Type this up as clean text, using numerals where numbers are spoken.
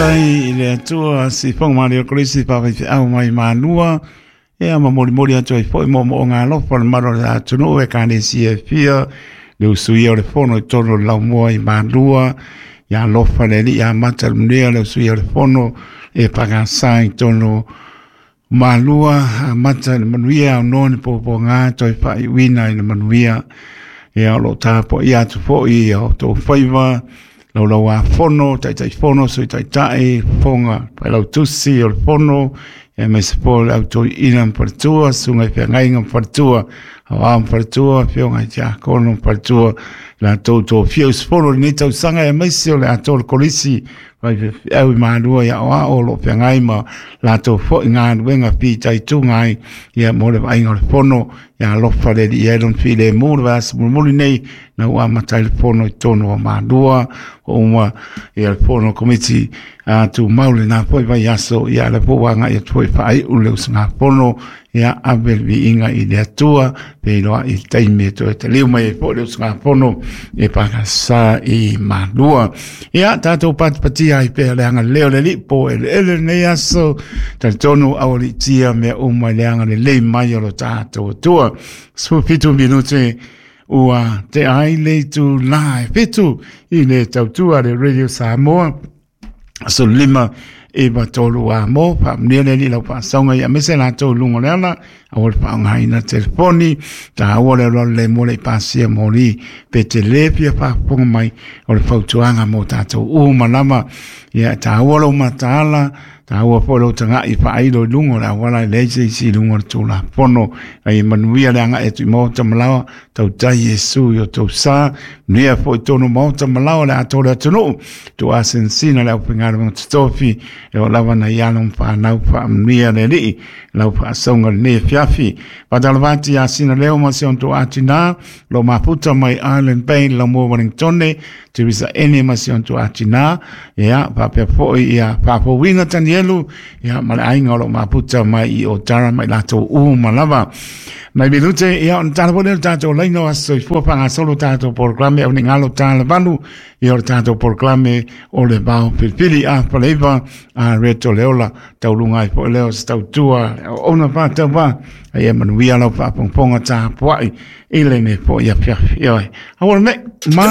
Faafetai i le Atua sifoga ma le Kolisi faafeifeau mai Malua. Ia ma molimoli atu ai foi moomooga alofa le mamalu o le atunuu, ekalesia e fia, le usuia o le fono i totonu o le laumua i Malua. Ia alofa le Alii amata le manuia le usuia o le fono e pakasa i totonu o Malua, amata le manuia aunoa ni puapuaga toe faaiuina i le manuia. Ia o lo o tapuaia atu foi ia outou faiva, laulauafono, taitaifono, sui taitai, fofoga failautusi o le fono, aemaise foi le au toeaina ma faletua, susuga i feagaiga ma faletua, aoao ma faletua, afioga i tiakono ma faletua, latou tofia usufono i lenei tausaga, aemaise o le atoa o le kolisi faifeau i Malua i aoao o lo o feagai ma latou foi galuega fitaituga ai ia mo le vaaiga o le fono. Ia alofa le Alii ai lona filemu le vaiaso mulimuli nei na ua amata ai le fono i totonu o Malua ua uma ia le fono komiti a tumau lena foi vaiaso. Ia le foi ua agai atu foi faaiu le usugafono. Ia ave le viiga i le Atua feiloai i le taimi e toe taliu mai ai foi le usugafono e pakasa i Malua. Ia tatou patipatia ai pea le agalelei o le Alii po eleele lenei aso. Talitonu aualiitia mea uma i le agalelei mai o lo tatou Atua. 17 minute ua tea ai le itula e 7 i le tautua le Radio Samoa. Aso 5 9 3 a mo faamanuia le Alii i lau faasauga ia aemaise latou i luga o le ala aua le faaaogaina telefoni taua le alualu le mo le pasia moli pe te le fia faafofoga mai o le fautuaga mo tatou uma lava. Ia taua lou mataala, taua foi lou taga'i faailo i luga o le auala e leai se isi i luga o le Tulafono. Ai manuia le agai atu i maota ma laoa, tautai Iesu i o tou sa, manuia foi tonu maota ma laoa le atoa o le atunuu, tuuasinasina le aufaigaluega totofi, e oo lava nai alo ma fanau faamanuia le Alii lau faasauga lenei afiafi. Faatalofa atu ia Sina Leo ma si ona tuuatinā, lo mafuta mai Island Bay, Laumua Wellingtone, Teresa Ene ma si ona tuuatinā, ia faapea foi ia Faafouina Tanielu, ia ma le aiga o lo mafuta mai i Otara mai latou uma lava. Mai minute, ia ona tala foi lea o le tatou laina o aso soifua faagasolo tatou polokalame au nei galo tala valu, ia o le tatou polokalame o le vao filifili a faleiva a reto le ola tauluga ai foi lea o se tautua auauna faatauvā. Ia manuia lau faafogafoga tapuai i lenei foi afiafi. Ioe, aua le mea ma